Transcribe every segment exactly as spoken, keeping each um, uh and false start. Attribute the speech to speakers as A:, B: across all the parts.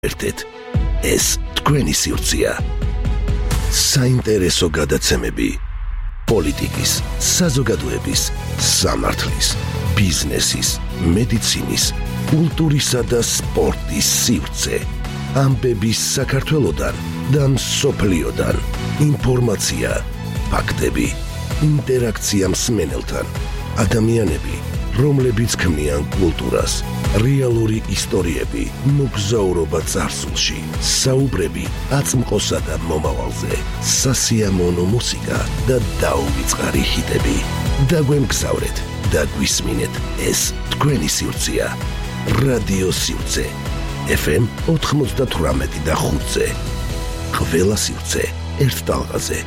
A: ერთად ეს თქვენი სივრცეა. საინტერესო გადაცემები პოლიტიკის, საზოგადოების, სამართლის, ბიზნესის, მედიცინის, კულტურისა და სპორტის სივრცე. ამბების საქართველოდან და მსოფლიოდან. ინფორმაცია, ფაქტები, ინტერაქცია მსმენელთან. ადამიანები, რომლებიც ქმნიან კულტურას. რეალური ისტორიები, მოგზაურობა წარსულში, საუბრები აწმყოსა და მომავალზე, სასიამოვნო მუსიკა და დაუვიწყარი ჰიტები. დაგვემგზავრეთ და გვისმინეთ, ეს თქვენი სივრცეა. რადიო სივრცე ეფ ემ ოთხმოცდათვრამეტი და ხუთზე. ყველა სივრცე ერთ ტალღაზე.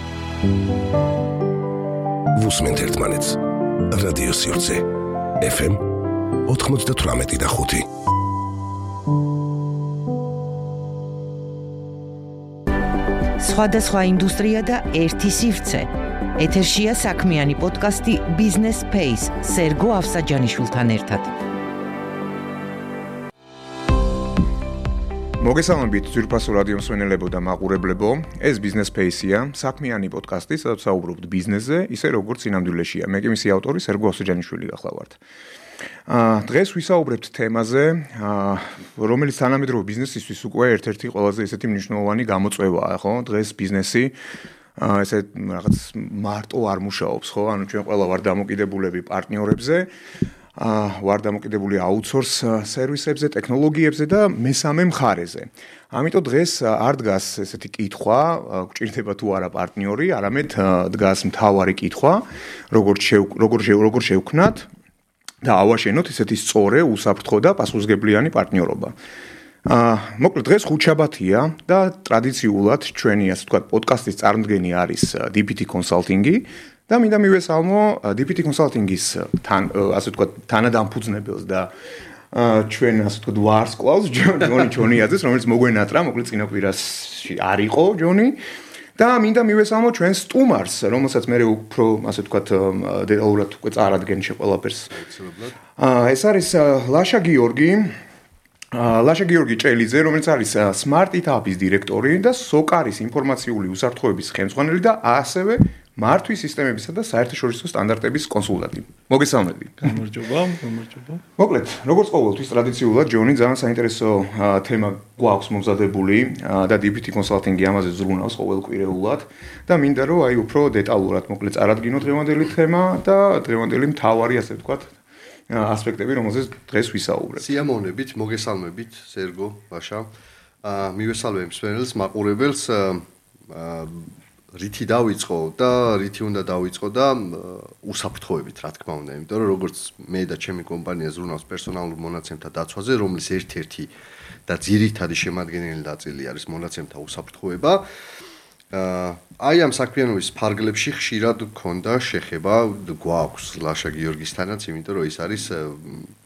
A: ვუსმენთ ერთმანეთს. რადიო სივრცე ეფ ემ ოთხმოცდათვრამეტი და ხუთი.
B: სხვადასხვა ინდუსტრია და ერთი სივრცე. ეთერშია საქმიანი პოდკასტი Business Space სერგო ავსაჯანიშვილთან ერთად.
C: მოგესალმებით ძვირფასო რადიო მსმენელებო და მაყურებლებო. ეს Business Space-ია, საქმიანი პოდკასტი, სადაც საუბრობთ ბიზნესზე, ისე როგორც სინამდვილეშია. მე კი მისი ავტორი სერგო ავსაჯანიშვილი გახლავართ. აა დღეს ვისაუბრებთ თემაზე, აა რომელიც თანამედროვე ბიზნესისთვის უკვე ერთ-ერთი ყველაზე ესეთი მნიშვნელოვანი გამოწვევაა, ხო? დღეს ბიზნესი აა ესე რაღაც მარტო არ მუშაობს, ხო? ანუ ჩვენ ყველა ვარ დამოკიდებულები პარტნიორებზე, აა ვარ დამოკიდებული აუთსორს სერვისებზე, ტექნოლოგიებზე და მესამე მხარეზე. ამიტომ დღეს არ დგას ესეთი კითხვა, გვჭირდება თუ არა პარტნიორი, არამედ დგას მთავარი კითხვა, როგორ როგორ როგორ შევქნათ და ავაშენოთ ესეთი სწორი, უსაფრთხო და პასუხისმგებლიანი პარტნიორობა. აა მოკლედ დღეს ხუთშაბათია და ტრადიციულად ჩვენი ასე ვთქვათ პოდკასტის წარმდგენი არის დი პი ტი Consulting-ი და მინდა მივესალმო დი პი ტი Consulting-ის თან ასე ვთქვათ თანადამფუძნებელს და ჩვენ ასე ვთქვათ ვარსკვლავს ჯონი ჩონიაძეს, რომელიც მოგვენატრა, მოკლედ წინა კვირაში არ იყო ჯონი. და მინდა მივესალმო ჩვენ სტუმარს, რომელსაც მე უფრო ასე ვთქვათ დეტალურად უკვე წარადგენ შეყოლაფერს. აა ეს არის ლაშა გიორგი, ლაშა გიორგი ჭელიძე, რომელიც არის Smart Etaps დირექტორი და სოკარის ინფორმაციული უსაფრთხოების ხელმძღვანელი და ასევე მართვის სისტემებისა და საერთაშორისო სტანდარტების კონსულტანტი. მოგესალმები.
D: გამარჯობა, გამარჯობა.
C: მოკლედ, როგორც ყოველთვის ტრადიციულად ჯონი ძალიან საინტერესო თემა გვაქვს მომზადებული და დი პი ტი Consulting-ი ამაზე ზრუნავს ყოველკვირეულად და მინდა რომ აი უფრო დეტალურად მოკლედ წარადგინო დღევანდელი თემა და დღევანდელი მთავარი ასე ვთქვათ ასპექტები, რომელზეც დღეს ვისაუბრებთ.
E: სიამოვნებით, მოგესალმებით, სერგო, ლაშა. აა მივესალმებ მსმენელს, მაყურებელს. აა რითი დავიწყო და რითი უნდა დავიწყო და უსაფრთხოებით, რა თქმა უნდა, იმიტომ რომ როგორც მე და ჩემი კომპანია ზრუნავს პერსონალურ მონაცემთა დაცვაზე, რომლის ერთ-ერთი და ძირითადი შემადგენელი ნაწილი არის მონაცემთა უსაფრთხოება. აი ამ საქმიანობის ფარგლებში ხშირად გქონდა შეხება გვაქვს ლაშა გიორგისთანაც, იმიტომ რომ ის არის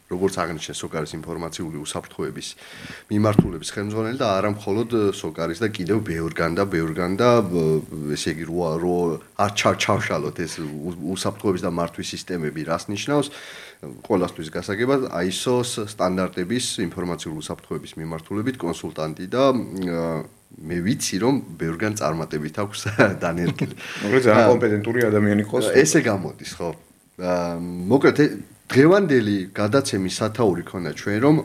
E: როგორც აღნიშნეს სოკარის ინფორმაციული უსაფრთხოების მიმართულების ხელმძღვანელი და არა მხოლოდ სოკარის და კიდევ ბევრგან და ბევრგან და ესე იგი რო არ ჩავშალოთ ეს უსაფრთხოების და მართვის სისტემები რას ნიშნავს ყველასთვის გასაგებად აი ეს ო-ს სტანდარტების ინფორმაციული უსაფრთხოების მიმართულებით კონსულტანტი და მე ვიცი რომ ბევრგან წარმატებით აქვს დანერგილი.
C: მოკლედ ძალიან კომპეტენტური ადამიანი ყავს.
E: ესე გამოდის, ხო? მოკლედ დღევანდელი გადაცემის სათაური ქონდა ჩვენ რომ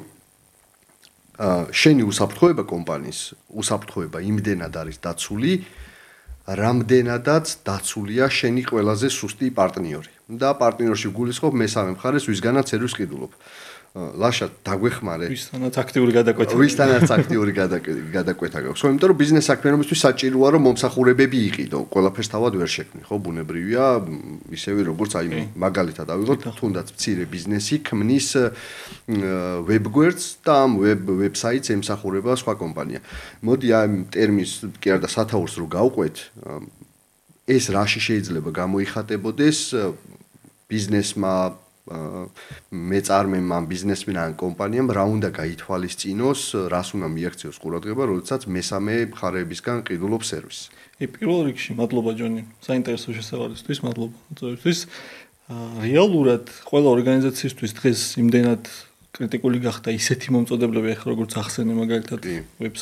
E: შენი უსაფრთხოება კომპანიის უსაფრთხოება იმდენად არის დაცული, რამდენადაც დაცულია შენი ყველაზე სუსტი პარტნიორი. და პარტნიორში გულისხმობ მესამე მხარეს, ვისგანაც სერვისს ყიდულობ. ლაშა დაგვეხმარე.
D: ვისთანაც აქტიური გადაკვეთა.
E: ვისთანაც აქტიური გადაკვეთა გაქვს. ხო, იმიტომ რომ ბიზნეს საქმიანობისთვის საჭიროა რომ მომსახურებები იყიდო. ყველაფერს თავად ვერ შექმნი, ხო, ბუნებრივია, ისევე როგორც აი მაგალითად ავიღოთ, თუნდაც მცირე ბიზნესი ქმნის ვებგვერდს და ამ ვებსაიტს ემსახურება სხვა კომპანია. მოდი ამ ტერმინს კი არა და სათაურს რო გავყვეთ, ეს რაში შეიძლება გამოიხატებოდეს ბიზნესმა მეწარმემ ამ ბიზნესმენ ან კომპანიამ რა უნდა გაითვალისწინოს, რას უნდა მიაქციოს ყურადღება, როდესაც მესამე მხარეებისგან ყიდულობს სერვისს.
D: კი, პირველ რიგში მადლობა ჯონი, საინტერესო შესავალისთვის, მადლობა მოწვევისთვის. რეალურად ყველა ორგანიზაციისთვის დღეს იმდენად კრიტიკული გახდა ისეთი მომწოდებლები, ახლა როგორც ახსენე მაგალითად
E: კი.